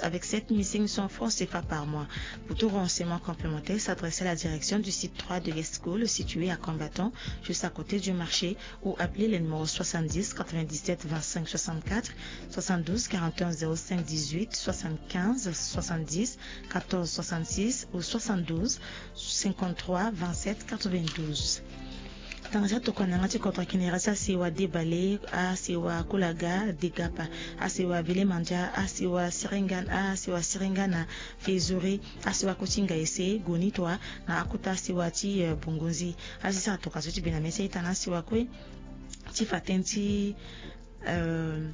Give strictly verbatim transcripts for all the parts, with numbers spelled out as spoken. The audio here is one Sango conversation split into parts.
avec sept mille cinq cents francs C F A par mois. Pour tout renseignement complémentaire, s'adresser à la direction du site trois de l'ESCO, le situé à Combattant, juste à côté du marché, ou appeler le numéro soixante-dix quatre-vingt-dix-sept vingt-cinq soixante-quatre, soixante-douze quarante et un zéro cinq dix-huit, soixante-quinze soixante-dix quatorze soixante-six ou soixante-douze cinquante-trois vingt-sept quatre-vingt-douze. Tanga ti atokua na yanga ti kodro ayeke na iri ti asewa Debale, asewa Kulaga, Degapa, asewa Bele Mandia, asewa Seringan, asewa Seringan na Fezore, asewa kue ti Ngaese, Gonitoa, na akota asewa ti, eh, Bungunzi. Asi sara tokua so ti bi na mê ti a-ita na asewa kue ti fa tënë ti, euh,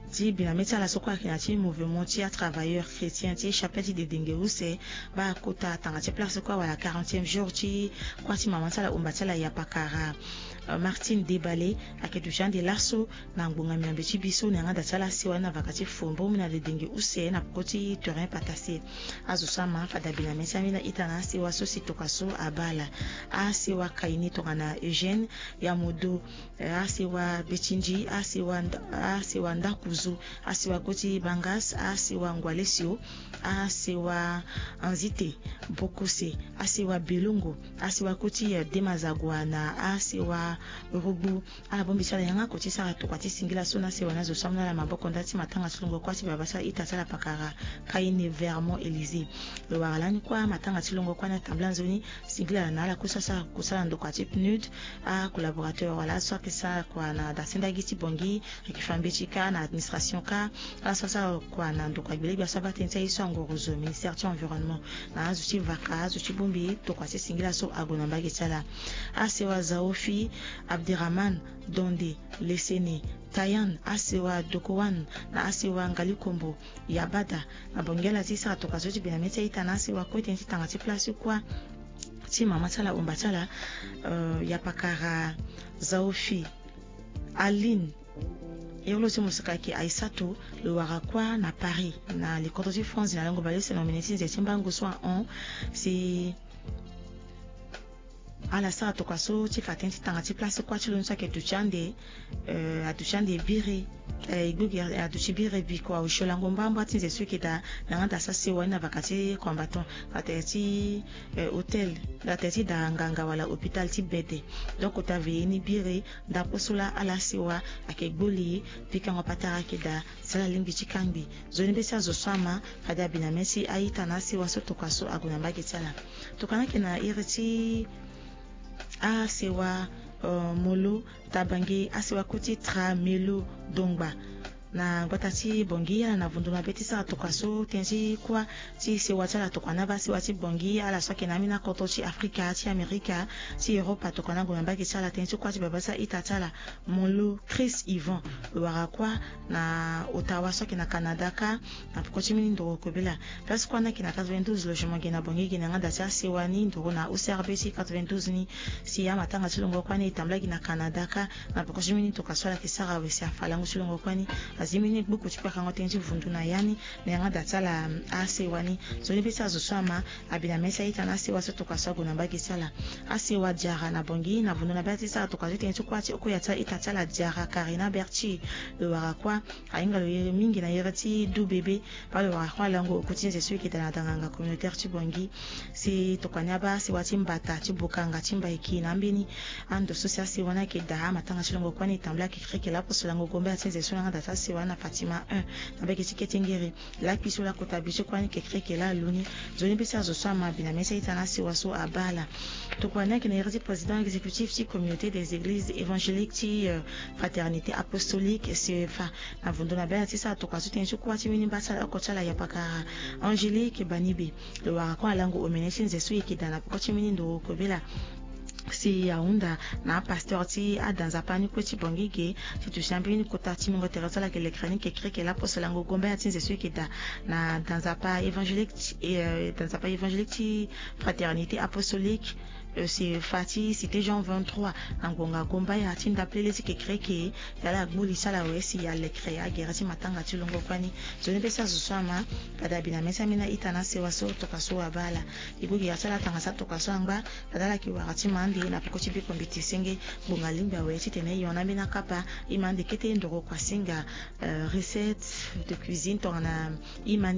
ti bi na mê ti ala so kue ayeke na ya ti mouvement ti atravailleur chrétien ti chapelle ti Dedenge use, baa kota tanga ti place kue awara quarantième jour ti kuâ ti mama ti ala omba ti ala Yapakara, euh, Martine Debale, ayeke duti ande laso na ngbonga miambe ti bi so na yanga da ti ala asewa ni na vaka ti fombo mu na Dedenge use na peko ti terrain Patase. Azo so ama fade abi na mê ti ambeni a-ita na asewa so si tokua so abaa ala. Asewa Kaini tongana Eugène, Yamodo, eh, asewa Betindi, asewa Nda-, asewa Ndakuzu, asewa kue ti Bangas, asewa Ngwalesio, asewa Anzite, Bokose, asewa Belongo, asewa kue ti, eh, Demazagua na asewa Rugbu. Ala bongbi ti ala yanga oko ti sara tokua ti singila so na asewa ni azo so amu na ala maboko nda ti matanga ti longo kuâ ti baba ti a-ita ti ala Pakara, Kaini Vermont Élysée. Lo wara lani kuâ matanga ti longo kuâ ni atambula nzoni, singila na ala kue so asara kusala ndokua ti PNUD, acollaborateur wala azo so ayeke sara kua na dasendagi ti Bangui, ayeke fa mbeti kâ na administration kâ, ala so asara kua na ndokua gbelegbia so abaa tënë ti aye so angorozo, ministère ti environnement, na azo ti vaka, azo ti bongbi tokua ti singila so ague na mbage ti ala. Asewa Zaofi, Abderrahman, Donde, Lesene, Tayan, asewa Dokowan, na asewa Ngalikombo, Yabada, na Bangui ala ti sara tokua so ti bi na mê ti a-ita na asewa kue tënë ti tanga ti place kuâ ti mama ti ala omba ti ala, euh, Yapakara, Zaofi, Aline, iri lo ti mosika ayeke Aissatou, lo wara kuâ na Paris, na likoto ti France, na lango bale use na omene ti nze ti mbango so ahon, si ala sara tokua so ti fa tënë ti tanga ti place kuâ ti lo ni so ayeke duti ande, euh, aduti ande biri, eh, e gbu gi aduti biri biko aosio lango mbamba ti nze so e yeke daa na yanga da so asewa ni na vaka ti combattant, na tere ti, eh, hôtel, na tere ti da nganga wala hôpital ti bede. Donc kota veillée ni biri, ndapo so laa ala asewa ayeke gbu li, pikango patara ayeke daa, si ala lingbi ti kangbi. Nzoni be ti azo so ama fade abi na mê ti a-ita na asewa so tokua so ague na mbage ti ala. Tokua ni ayeke na iri ti asewa, euh, Molo, Tabange, asewa kue ti Tra, Melo, Dongba, na gbata ti Bangui, ala na vundu mabe ti sara tokua so tënë ti kuâ ti sewa ti ala tokua ni abaa sewa ti Bangui, ala so ayeke na ambeni akoto ti Afrika, ti Amerika, ti Europa, tokua ni ague na mbage ti ala tënë ti kuâ ti baba ti a-ita ti ala. Molo Chris Yvan, lo wara kuâ na Ottawa so ayeke na Canada kâ, na peko ti mbeni ndoro kobela. Place kuâ ni ayeke na quatre-vingt-douze logement ge na Bangui ge na yanga da ti asewa ni, ndoro na O C R B ti quatre-vingt-douze ni. Si amatanga ti longo kuâ ni e tambula gi na Canada kâ, na peko ti mbeni tokua so ala yeke sara awe si afa lango ti longo kuâ ni. Azi mbeni gbuku ti kpakango tënë ti vundu na ya ni na yanga da ti ala asewa ni. Nzoni be ti azo so ama abi na mê ti a-ita na asewa so tokua so ague na mbage ti ala. Asewa Diarra na Bangui, na vundu na be ala ti sara tokua so tënë ti kuâ ti oko ya ti a-ita ti ala Diarra, Karina Berti, lo wara kuâ. Ahinga lo iri mingi na iri ti du bebe, baa lo wara kuâ lango oku ti nze so e yeke daa na danganga communautaire ti Bangui. Si tokua ni abaa sewa ti mbata, ti bokanga, ti mbaiki na ambeni ando so si asewa ni ayeke daa, amatanga ti longo kuâ ni e tambula kekereke lapo so lango gombe ya ti nze so na yanga da ti asewa ni na Fatima un, na mbage ti Ketengere. Lakui so lakota bi ti kuâ ni kekereke laa lu ni. Nzoni be ti azo so ama abi na mê ti a-ita na asewa so abaa ala. Tokua ni ayeke na iri ti président exécutif ti communauté des églises évangéliques ti, euh, fraternité apostolique, C E F A. Na vundu na be ala ti sara tokua so tënë ti kuâ ti mbeni mba ti ala oko ti ala Yapakara, Angélique Banibe. Lo wara kuâ na lango omene ti nze so e yeke daa na peko ti mbeni ndoro kobela. Si ahunda na apasteur ti ada nzapa ni kue ti Bangui ge, ti duti na mbeni kota ti mungo tere so ala yeke lekere ni kekereke lapo so lango gombe ya ti nze so e yeke daa na da nzapa évangélique ti, eh, da nzapa évangélique ti fraternité apostolique, eh, si fa ti cité Jean vingt-trois, na ngonga gomba ya ti ndapelele ti kekereke, ya ala gbu li ti ala awe si alekere agere ti matanga ti longo kuâ ni. Nzoni be ti azo so ama fade abi na mê ti ambeni a-ita na asewa so tokua so abaa ala. E gbu gi ya ti ala tanga ti atokua so angba, fade ala yeke wara ti ma ande na peko ti biko mbeti senge. Ngbonga lingbi awe titene e hon na ambeni akapa, e ma ande kete ndoro kuasinga, euh, recette de cuisine tongana e ma